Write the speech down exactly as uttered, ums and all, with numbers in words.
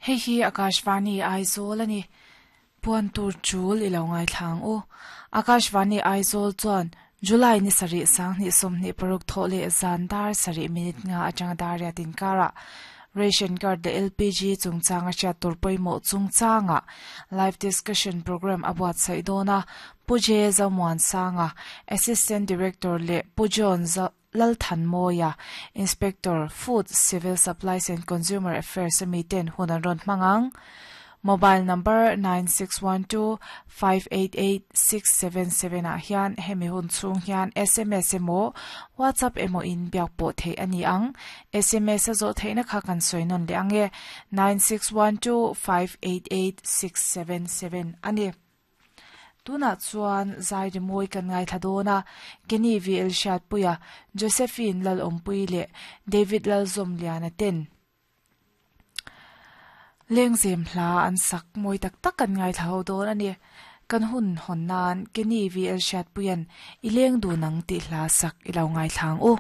Hei hi Akashvani Aizawl ani. Puan tur chul ilo ngai thlang u. Akashvani Aizawl chuan July ni sarih sanghnih sawmhnih paruk thawh leh zan dar sarih minute nga atanga dar riat inkara ration card leh L P G chungchanga hriat tur pawimawh chungchanga live discussion program a buatsaih dawn a. Pu J Zomuansanga, Assistant Director, leh Pu John Lalthanmawia, Inspector, Food, Civil Supplies and Consumer Affairs ami ten hun an rawn hmang ang. Mobile number nine six one two five eight eight six seven seven ah hian hemi hun chhung hian S M S emaw WhatsApp emaw in biak pawh theih ani ang. S M S a zawh theihna kha kan sawi nawn leh ange, nine six one two five eight eight six seven seven ani. Tunah chuan zai rimawi kan ngaithla dawn a. Kenny V L Hriatpuia, Josephine Lalawmpui leh David Lalzawmliana ten lengzem hla an sak mawi tak tak kan ngaithla ho dawn ani. Kan hun hawn nan Kenny V L Hriatpuian I leng dun ang tih hla sak ilo ngaithla ang u.